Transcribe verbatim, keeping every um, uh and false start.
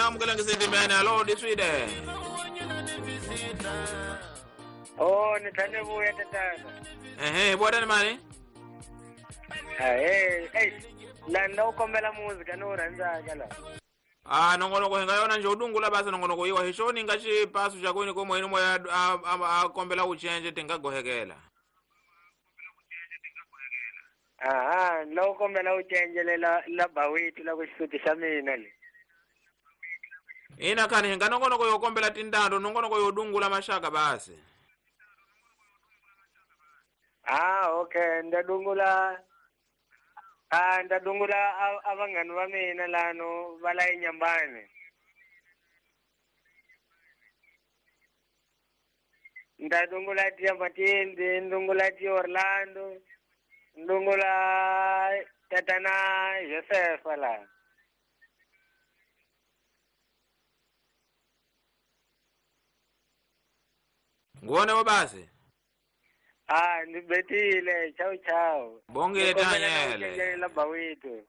Na amukela ngisendimene alo diswide. Oh, ni tlhane vuya tatana. Ehe, bota mani? Eh, eh, la nda u kombela muzika ni wu rhandzaka la. Ah, nongonoko hi nga yona nje udungula basi nongonoko yiwa hi xoni nga xipasu xa kwini ko moyeni moya a a kombela u change tinga gohekela. Aha, la u kombela u changelela la bawiti la ku xisuti xa mina le. Ina khani hi nga nongonoko yo kombela tindando nongonoko yo dungula maxaka basi. Ah, okay, nda dungula. Ah, nda dungula a vanghani va mina lano va la eNyambani. Nda dungula tia Matindi, ndungula tia Orlando, ndungula tatana Josefa la. Ngone wa basi. Ah, ni betile. Ciao ciao. Bongile Daniel. La bawito.